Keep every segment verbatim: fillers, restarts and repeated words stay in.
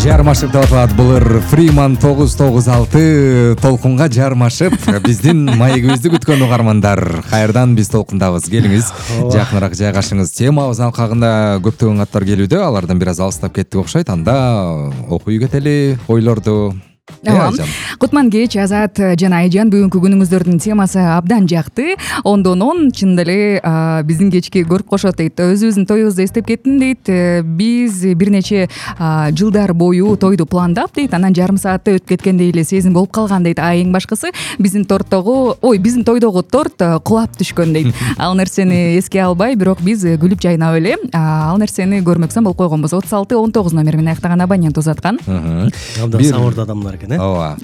Жармашып деп аталат былыр Фриман тогуз тогуз алты толкунга жармашып биздин маегибизди күткөн угармандар. Кайрадан биз толкундабыз. Келиңиз, жакыныраак жайгашыңыз. Темабыздын алкагында көптөгөн каттар келүүдө, алардан бир аз алыстап кеттик окшойт. Анда окуй кетели ойлорду. Кутман кеч, Азат жана Айжан, бүгүнкү күнүңүздөрдүн темасы абдан жакты. Ондон он чын эле биздин кечки көрүп кошот дейт. Өзүбүздүн тоюбузду эстеп кеттим дейт. Биз бир нече жылдар бою тойду пландап дейт. Анан жарым саатта өтүп кеткендей эле сезим болуп калган дейт. А эң башкысы биздин торттогу, ой, биздин тойдогу торт кулап түшкөн дейт. Ал нерсени эске албай, бирок биз күлүп жайнап эле ал нерсени көрмөксөн болуп койгонбуз. отуз алты он тогуз номер менен аяктаган абонент узаткан. Абдан сабырдуу адамдар. Ооба.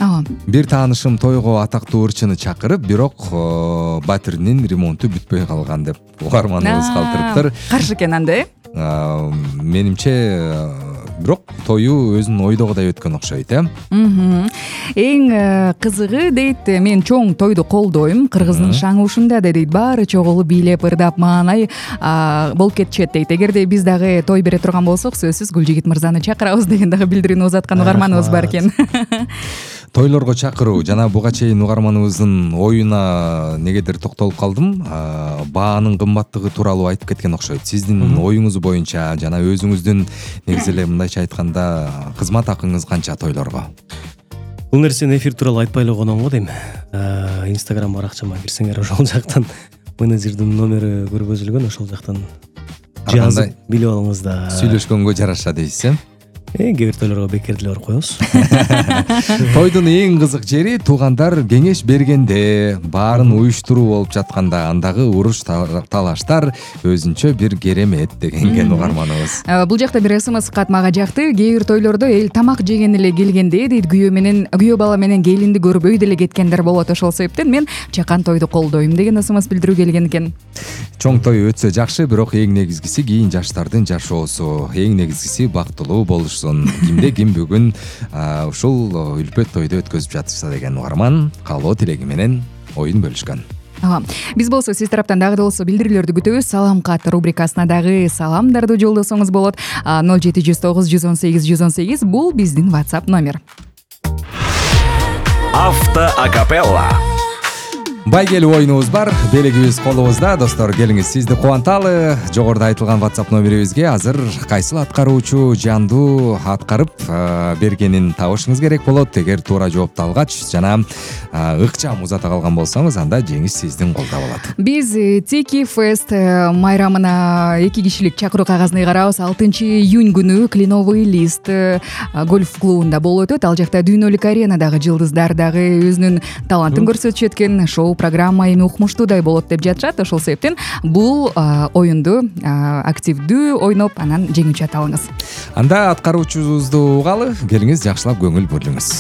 Бир таанышым тойго атактуу ырчыны чакырып, бирок батиринин ремонту бүтпөй калган деп угарманыбыз калтырыптыр. Каршы экен анда, э? Менимче бирок тою өзүнүн ойдогудай өткөн окшойт, э? Эң кызыгы дейт, мен чоң тойду колдойм, кыргыздын шаңы-ушунда дейт, баары чогулуп бийлеп, ырдап, маанай болуп кетишет дейт. Эгерде биз дагы той бере турган болсок, сөзсүз Гүлжигит мырзаны чакырабыз деген дагы билдирүүнү узаткан угарманыбыз бар экен. Тойлорго чакыруу жана буга чейин угарманыбыздын оюна негедир токтолуп калдым. Баанын кымбаттыгы тууралуу айтып кеткен окшойт. Сиздин оюңуз боюнча жана өзүңүздүн негизи эле мындайча айтканда кызмат акыңыз канча тойлорго? Бул нерсени эфир тууралуу айтпай эле коном го дейм. Инстаграм баракчама кирсеңер, ошол жактан менеджердин номери көргөзүлгөн, ошол жактан жазып билип алыңыз да. Сүйлөшкөнгө жараша дейсиз, э? Э, кээ бир тойлорго бекер деле барып коебуз. Тойдун эң кызык жери туугандар кеңеш бергенде, баарын уюштуруу болуп жатканда, андагы уруш талаштар өзүнчө бир керемет деген угарманыбыз. Бул жакта бир смс кат мага жакты. Кээ бир тойлордо эл тамак жеген эле келгенде дейт, күйөө менен күйөө бала менен келинди көрүп өй деле кеткендер болот. Ошол себептен мен чакан тойду колдойм деген смс билдирүү келген экен. Чоң той өтсө жакшы, бирок эң негизгиси кийин жаштардын жашоосу, эң негизгиси бактылуу болуш. Кимде ким бүгүн ушул үлпөт тойду өткөзүп жатышса деген угарман каалоо тилеги менен оюн бөлүшкөн. Биз болсо сиз тараптан дагы да болсо билдирүүлөрдү күтөбүз. Салам кат рубрикасына дагы саламдарды жолдосоңуз болот. ноль жети жүз тогуз жүз он сегиз жүз он сегиз бул биздин WhatsApp номер. Авто акапелла. Байгелүү оюнубуз бар, белегибиз колубузда. Достор, келиңиз, сизди кубанталы. Жогоруда айтылган WhatsApp номерибизге азыр кайсыл аткаруучу жандуу аткарып бергенин табышыңыз керек болот. Эгер туура жоопту алгач жана ыкчам узата калган болсоңуз, анда жеңиш сиздин колдо болот. Биз Тики Фест майрамына эки кишилик чакыруу кагазын ыйгарабыз. алтынчы июнь күнү Кленовый лист гольф клубунда болуп өтөт. Ал жакта дүйнөлүк аренадагы жылдыздар дагы өзүнүн талантын көрсөтүшөт экен. Шоу программа эми укмуштуудай болот деп жатышат. Ошол себептен бул оюнду активдүү ойноп, анан жеңүүчү ата алыңыз. Анда аткаруучубузду угалы, келиңиз, жакшылап көңүл бөлүңүз.